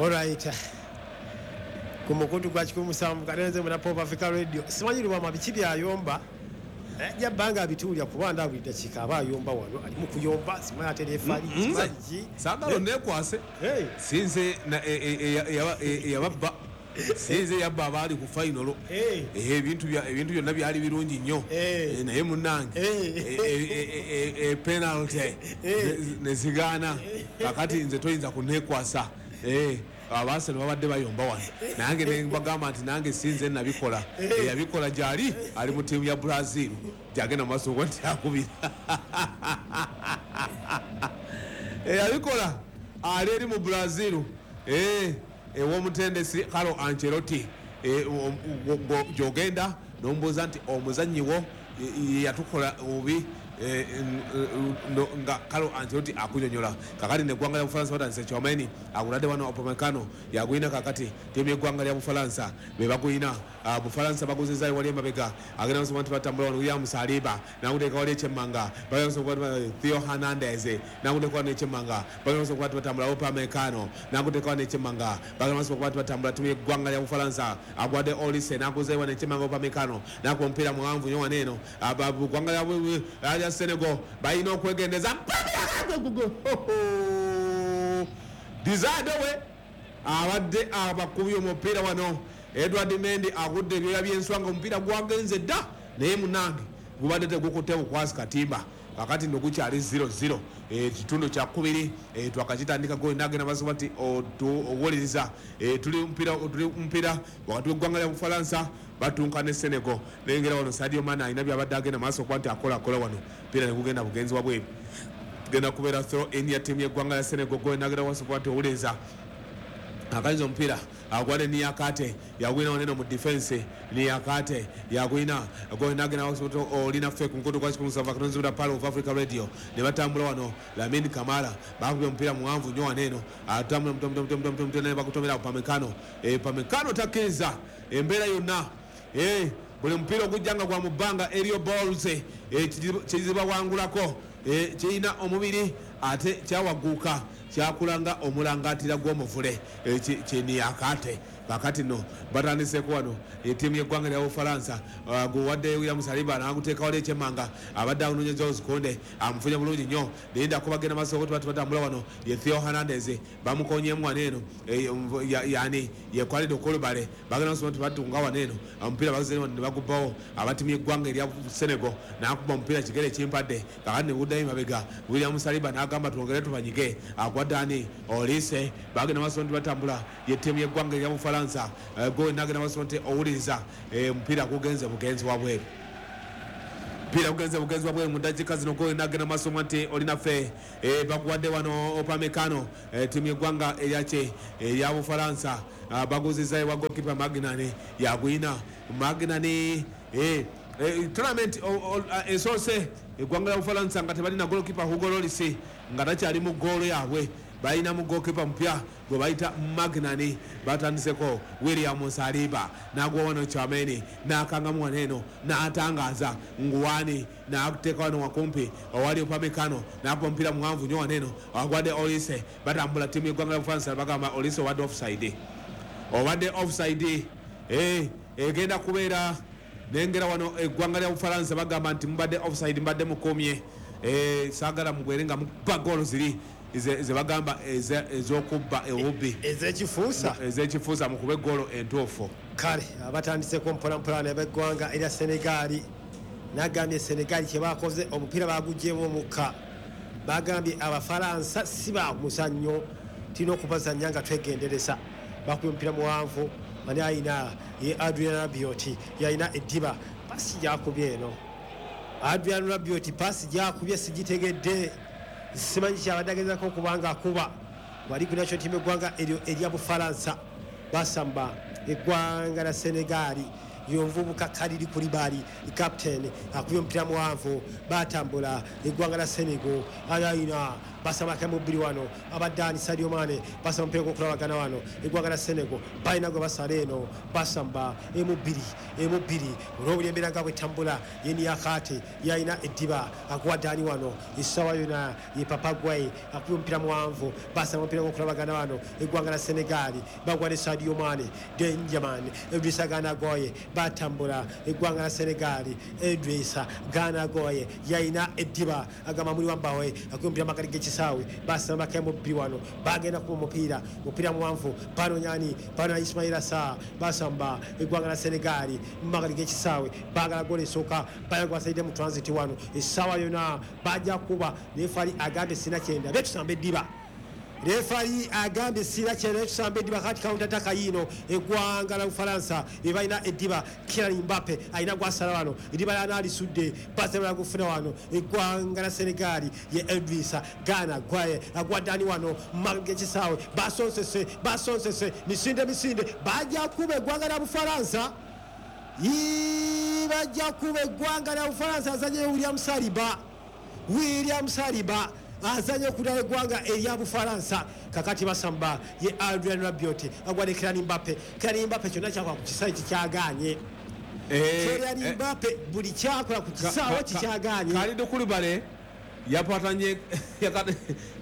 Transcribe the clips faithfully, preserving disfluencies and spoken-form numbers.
Alright, ku mukutu gwa kikumi musanvu katenze muna Pop Africa Radio. Simanyi Lubwama biki byayomba, ajja bbanga abituulya kuba nda buli dakiika aba ayomba wano, ali mu kuyomba, simanyi ate referee, simanyi ki. Saagala neekwase, sinze eyababba, sinze yabba abaali ku final. Ebintu ebintu byonna byali birungi nnyo, naye munnange penalty ne zigaana. Kakati nze toyinza kunneekwasa. Abaasano babadde bayomba wano, nange ne mbagamba nti nange sinze nabikola, eyabikola gyali ali mu ttiimu ya Brazil, gyagenda mu maaso nti akubira. Eyabikola ali eri mu Brazil, ew'omutendesi Carlo Ancelotti, gy'ogenda n'omubuuza nti omuzannyi wo yatukola obubi, nga Carlo Ancelotti akunyonyola. Kakati neggwanga lya Bufalansa batandise Tchouameni aguladde wano Upamecano yagwina. Kakati ttiimu y'eggwanga lya Bufalansa be bagwina. Bufalansa baguzizaayo wali emabega, agenda nsoma nti batambula wano William Saliba naguteeka wali ekyemmanga, Theo Hernandez naguteeka wano ekyemmanga, bagenda nsoma nti batambula Upamecano naguteeka wano ekyemmanga, bagenda nsoma nti batambula ttiimu y'eggwanga lya Bufalansa agwadde Olise naguzayo wano ekyemmanga Upamecano nakuba omupiira muwanvu nnyo wano eno. Ggwanga lya Senegal balina okwegendeza. Dizadowe abadde abakubye omupiira wano, Edward Mendy agudde ebyoya by'enswa nga omupiira gwagenze dda, naye munange gubadde tegukutte bukwasi katimba. Kakati nno gukyali zero zero, ekitundu kya kubiri twakakitandika goli nagenda maaso nti owuliriza. Tuli mupiira tuli mupiira wakati w'eggwanga lya Bufalansa batunka ne Senegal. Nengera wano Sadio Mane alina byabadde agenda maaso okuba nti akola akola wano, mupiira ne gugenda bugenzi wabweru, genda kubeera throw in ya ttiimu y'eggwanga lya Senegal. Goli nagenda maaso okuba nti owuliriza. Akayinza omupiira agwale Niakate yagwina waneno mu defense, Niakate yagwina nagenda olina ffe ku mukutu gwa kikumi musanvu akatonzi Palo of Africa Radio. Ne batambula wano Lamine Kamara bakubye omupiira muwanvu nnyo waneeno, atambula ne bakutomera Upamecano. Upamecano takkiriza embeera yonna, buli mupiira ogujja nga gwa mu bbanga aerial balls kizibawangulako, kirina omubiri ate kyawaguuka, kyakulanga omulangatira gw'omuvule Niakate. Kakati nno batandiseko wano ettiimu y'eggwanga lya Bufalansa, guwadde William Saliba n'aguteeka wali ekyemmanga, abadde awunonya Jules Kounde amufunye bulungi nnyo. Linda kubagenda maaso okuba batambula wano ye Theo Hernandez bamukonyemu wano eno, yani ye Khalid Koulibaly bagenda maaso nti batunga wano eno omupiira baguzze ne bagubbawo abattiimu y'eggwanga erya Senegal, n'akuba omupiira kigere kimpadde. Kakati ne guddayo emabega William Saliba n'agamba twongere tubanyige, agwadde ani Olise, bagenda maaso nti batambula ye ttiimu y'eggwanga erya Bufalansa. Goli nagenda maaso nti owuliriza, omupiira gugenze bugenzi wabweru, mupiira gugenze bugenzi wabweru mu ddakiika zino. Goli nagenda maaso nti olinaffe baguwadde wano Upamecano, ttiimu y'eggwanga eryaki erya Bufalansa baguzizaayo wa goalkeeper Magnani yagwina. Magnani tournament esoose eggwanga lya Bufalansa nga tebalina goalkeeper Hugo Lloris nga takyali mu ggoolo yaabwe, balina mu goalkeeper mupya gwe bayita Magnani. Batandiseko William Saliba n'agwa wano Tchouameni n'akangamu wano eno n'atangaza Nguwani n'ateeka wano wakumpi owali Upamecano n'akuba omupiira muwanvu nnyo wano eno agwadde Olise. Batambula ttiimu y'eggwanga lya Bufalansa bagamba Olise obadde offside, obadde offside egenda kubeera. Nengera wano eggwanga lya Bufalansa bagamba nti mubadde offside, mbadde mukomye, saagala mugwere nga mukuba goolo ziri ze bagamba ez'okubba ewubbi ez'ekifuusa ez'ekifuusa mukube goolo entuufu. Kale abatandiseko mpolampola n'abeggwanga erya Senegali, nagambye Senegali kye bakoze omupiira bagugyemu omukka, bagambye Abafalansa si ba muzannyo, tulina okubazannya nga twegendereza. Bakubye omupiira muwanvu, ani ayina ye Adrian Rabiot yalina eddiba, pasi gyakubye eno Adrian Rabiot pasi gyakubye sigitegedde, simanyi kyabadde agezako okubanga akuba. Wali ku national team eggwanga eryo erya Bufalansa basamba eggwanga la Senegali, yonvubuka Kalili Koulibaly captain akubye omupiira muwanvu, batambula eggwanga la Senegal, ayina Basamba kamu bbiri wano abadani Sadio Mane basamba omupiira gw'okulabagana wano eggwanga lya Senegal balina gwe basala eno basamba emu bbiri emu bbiri olw'obuli embeera nga bwetambula ye Niakate yalina eddiba akuwa Dani wano essaawa yonna ye Papa Gueye akuba omupiira muwanvu basamba omupiira gw'okulabagana wano eggwanga lya Senegal bagwa ne Sadio Mane Benjamin Idrissa Gana Gueye batambula eggwanga lya Senegal Idrissa Gana Gueye yalina eddiba agamba muli wambawe akuba omupiira makati g'ekisaawe basamba kemu bbiri wano bagenda kuba omupiira omupiira muwanvu banonyani bano Ismaila Sarr basamba eggwanga lya Senegal mu makati g'ekisaawe baagala goolo esooka bayaga basalidde mu transit wano essaawa yonna bajja kuba referee agambye sina kyenda betusamba eddiba referee agambye sina kyenda betusamba eddiba kati counter attack yiino eggwanga la Bufalansa ebalina eddiba Kylian Mbappe alina gwasala wano eddiba lyanaalisudde basobola gufuna wano eggwanga la Senegal ye Idrissa Gana Gueye agwa Dani wano mu g'ekisaawe basonsese basonsese misinde misinde bajja kuba eggwanga la Bufalansa bajja kuba eggwanga lya Bufalansa azanye William Saliba William Saliba azanye okudala eggwanga erya Bufalansa kakati basamba ye Adrien Rabiot agwa ne Kylian Mbappe Kylian Mbappe kyonna kyakola ku kisaawe kikyagaanye Kylian Mbappe buli kyakola ku kisaawe kikyagaanye Kalidou Koulibaly yapatanye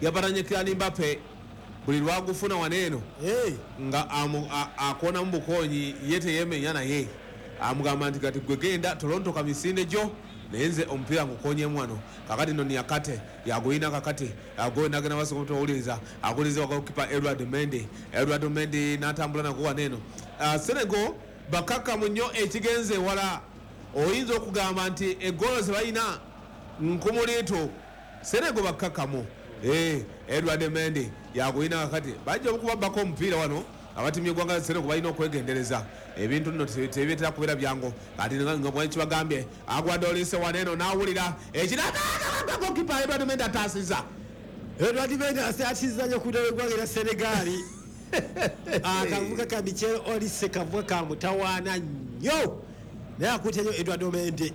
yapatanye Kylian Mbappe buli lwagufuna waneeno nga akoona mu bukonyi ye teyemenya naye amugamba nti kati gwe genda Toronto kamisinde gyo naye nze omupiira ngukonyemu wano kakati no Niakate yaguyina kakati agoyina agenda maaso g'omutawuliriza aguliza goalkeeper Edward Mendy Edward Mendy n'atambula nagwo waneeno. Senegal bakakkamu nnyo ekigenze ewala oyinza okugamba nti eggolo ze balina nkumuliitu Senegal bakakkamu. Edward Mendy yaguyina kakati bajja okubabbako omupiira wano abatimu y'eggwanga lya Senegal balina okwegendereza ebintu nno tebitera kubeera byangu kati nga bwekibagambye agwadde Olise waneeno n'awulira ekiragagoalkeeper Edward Mendy ataasiza Edward Mendy atiisiza nnyo ku ddala eggwanga lya Senegal akavuga ka Michel Olise kavuga ka mutawaana nnyo naye akutte nnyo Edward Mendy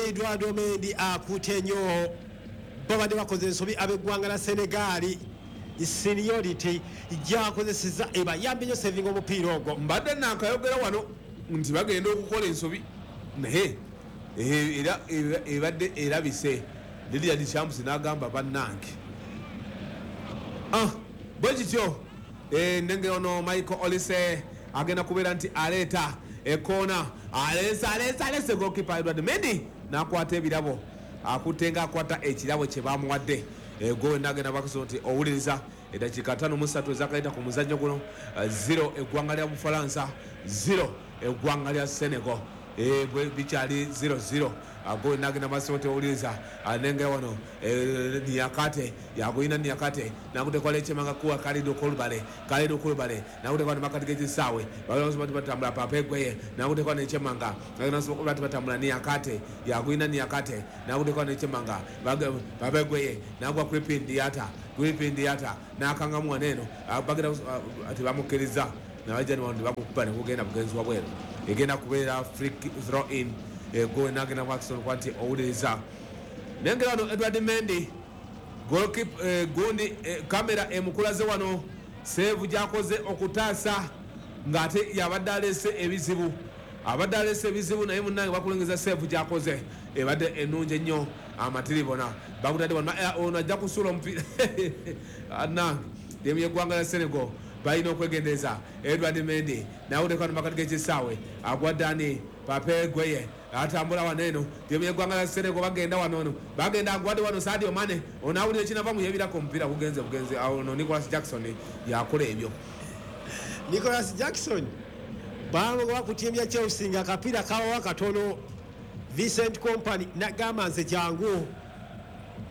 Edward Mendy akutte nnyo babadde bakoze ensobi ab'eggwanga lya Senegal seniority gyakozeseza ebayambye nnyo savinga omupiira ogwo mbadde nankayogera wano nti bagenda okukola ensobi naye era ebadde erabise Didier Deschamps n'agamba bannange bwe kityo nenge ono Michael Olise agenda kubeera nti aleeta ekoona aleese aleese aleese goalkeeper Edward Mendy n'akwata ebirabo akutte nga akwata ekirabo kye bamuwadde gowe nagenda bakuso nti owuliriza eddakiika ttaano mu ssatu ezakayita ku muzannyo guno zero eggwanga lya Bufalansa zero eggwanga lya Senegal bikyali zero zero gowe nagenda maaso nti owuliriza nengera wano Niakate yaguyina Niakate nakutekwala ekyemanga kuwa Kalidou Koulibaly Kalidou Koulibaly nakutekwa ne makati g'ekisaawe bati batambula Pape Gueye nakutekwa nekyemanga bati batambula Niakate yaguyina Niakate nakutekwa nekyemanga Pape Gueye nagwa Krépin Diatta Krépin Diatta n'akangamu waneeno bagira tebamukkiriza nabajja ne bamukuba ne gugenda bugenzi wabweru egenda kubeera free throw in gowe nagenda Watson kwa nti owuliriza nengera wano Edward Mendy goalkeeper gundi kamera emukulaze wano save gyakoze okutaasa ng'ate yabadde aleese ebizibu abadde aleese ebizibu naye munnange bakulengeza save gyakoze ebadde ennungi ennyo amatiribona bakutadde wano ono ajja kusuula omupiira nange ttiimu y'eggwanga lya Senegal balina okwegendereza Edward Mendy nawuleka makati g'ekisaawe agwa Dani Pape Gueye atambula wano eno ttiimu y'eggwanga lya Senegal bagenda wano ono bagenda agwadde wano Sadio Mane onawulira ekinava mu yebirako omupiira gugenze bugenze ono Nicholas Jackson yakola ebyo Nicholas Jackson bamugoba ku ttiimu ya Chelsea nga akapiira kabawa katono Vincent Kompany nagamba nze jangu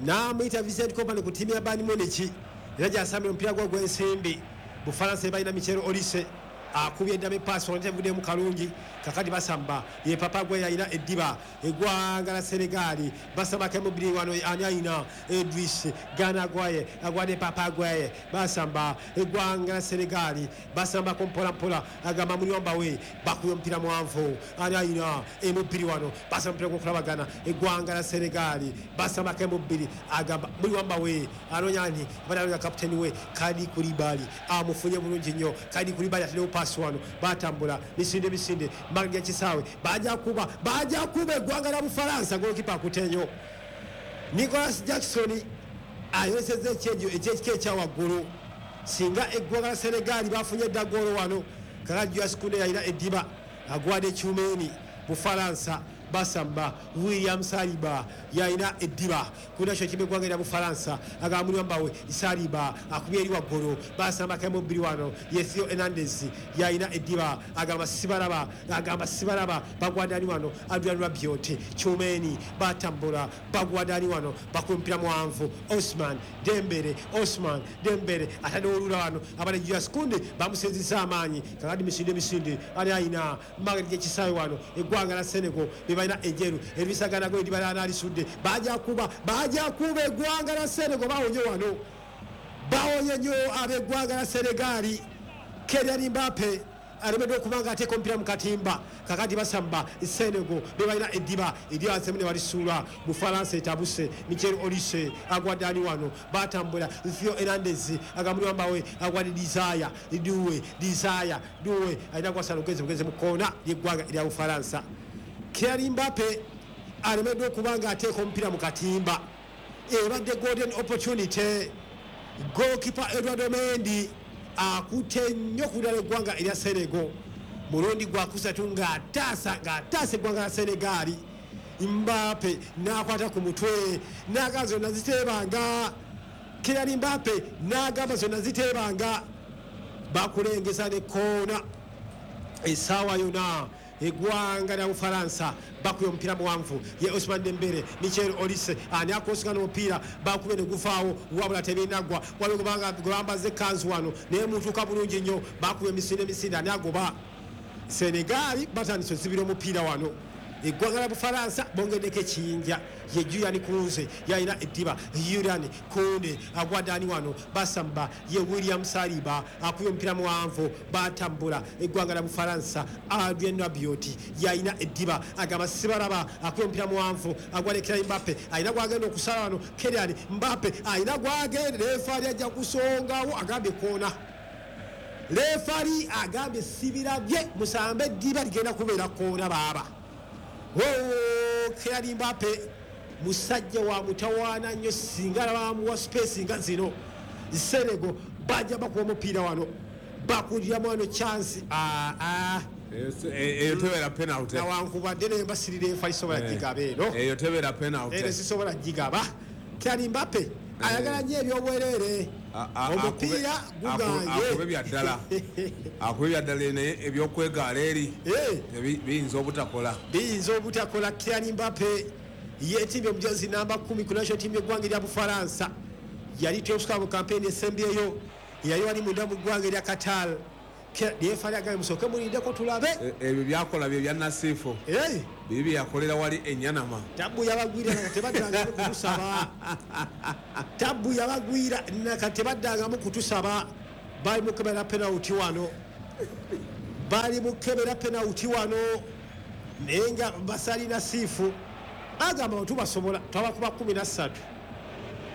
n'amuyita Vincent Kompany ku ttiimu ya Bayern Munich era gyasambira omupiira gwe ogw'ensimbi Bufalansa balina Michel Olise Akubye eddamu epaasi onetevuddemu kalungi. Kakati basamba ye Papa gwe yalina eddiba. Eggwanga la Senegali basambako emubiri wano. Ani ayina? Edris Gana Gwaye agwadde Papa Gwaye. Basamba eggwanga la Senegali, basambako mpolampola. Agamba muliyomba we bakubye omupiira muwanvu. Ani ayina emubiri wano? Basamba omupiira gwokulabagana. Eggwanga la Senegali basambako emubiri. Agamba muliwamba we anoonya ani? Bananonya kapiteni we Kadi Kulibali, amufunye bulungi nnyo. Kadi Kulibali ataddewo paasi wano. Batambula misinde misinde magya kisaawe, bajja kuba bajja kuba eggwanga la Bufalansa. Golokipa akutenyo Nicholas Jackson ayolesezza ekyejo ekyekika ekyawaggulu. Singa eggwanga la Senegali bafunye edda goolo wano. Kakati Julius Kunde yalina eddiba, agwadde Tchouameni. Bufalansa basamba, William Saliba yalina eddiba kunakyo kimu eggwanga erya Bufalansa. Agamba muliwambawe Saliba akubye eri waggulu. Basambako emubiri wano. Ye Theo Hernandez yalina eddiba. Agamba sibalaba, agamba sibalaba. Bagwadani wano? Adrian Rabiot, Tchouameni batambula. Bagwadani wano? Bakuba omupiira muwanvu. Osman Dembele, Osman Dembele atadde olula wano. Abale Julius Kunde bamusenzesa amaanyi. Kakati misinde misinde. Ali ayina mageri gyekisaawe wano? Eggwanga la Senegal bebalina enjeru. Erisaganago ediba alisudde. Bajja kuba bajja kuba eggwanga la Senegal. Bawonye wano, bawonye nnyo ab'eggwanga la Senegali. Kylian Mbappe alemeddwa okuba nga ateeka omupiira mu katimba. Kakati basamba Senegal bebalina eddiba. Eddiba nsemu ne balisuula. Bufalansa etabuse. Michel Olise agwadde ani wano? Batambula. Theo Hernandez agamuliwambawe agwadde Desire Doue. Desire Doue alina gwasala ogenze bugenze mu koona ly'eggwanga erya Bufalansa. Kylian Mbappe alemeddwa okuba nga ateeka omupiira mu katimba. Ebadde golden opportunity. Goalkeeper Edouard Mendy akutte nnyo ku ddala eggwanga erya Senegal. Mulundi gwakusatu ng'ataasa ng'ataasa eggwanga la Senegali. Mbappe n'akwata ku mutwe n'agamba zonna ziteebanga. Kylian Mbappe n'agamba zonna ziteebanga. Bakulengeza ne koona essaawa yonna. Eggwanga lya Bufalansa bakubye omupiira muwanvu. Ye Osman Dembele, Michel Olise ani akosigana omupiira? Bakubye ne guvaawo, wabula tebinaggwa. Waliwo gwe bambaza ekkanzu wano naye mutuuka bulungi nnyo. Bakubye emisinde emisinde. Ani agoba? Senegali batandise ozibira omupiira wano. Eggwanga la Bufalansa bongeddeko ekiyinja. Ye Julian Kunze yalina eddiba. Julian Kunde agwadde ani wano? Basamba ye William Saliba akubye omupiira muwanvu. Batambula eggwanga la Bufalansa. Adrien Rabiot yalina eddiba. Agamba sibalaba. Akubye omupiira muwanvu, agwadde Kylian Mbappe. Alina gwagenda okusala wano. Kylian Mbappe alina gwagenda. Refaali ajja kusongawo, agambye koona. Refaali agambye sibirabye, musambe eddiba ligenda kubeera koona baaba. Kylian Mbappe musajja wa mutawaana nnyo. Singa bamuwa space nga zino, Senegal bajja bakuba omupiira wano. Bakuliramu wano chance. Eyo tebeera penalty. Nawankubadde naye mbasirira enfa lisobola gigaba eno. Eyo tebeera penalty. Eno sisobola gigaba. Kylian Mbappe ayagala nnyo ebyobwereere. Omupiira guganye. Akube bya ddala, akube bya ddala, naye ebyokwegaala eri biyinza obutakola. Biyinza obutakola. Kylian Mbappe yeetimbye omujazi namba kumi ku national team y'eggwanga erya Bufalansa. Yali teosuka mu kampeyini esembyeyo yali wali munda mu ggwanga erya Qatar. Refaali agambye musooke mulindeko tulabe. Ebyo byakola bye bya Nasifu bibi yakolera wali enyanama. Tabu yabagwira nakatebaddangamu kutusaba. Tabu yabagwira nakatebaddangamu kutusaba. Bali mukebera penalty wano, bali mukebera penalty wano. Naye nga basali Nasifu agamba tubasobola twabakuba kumi na ssatu.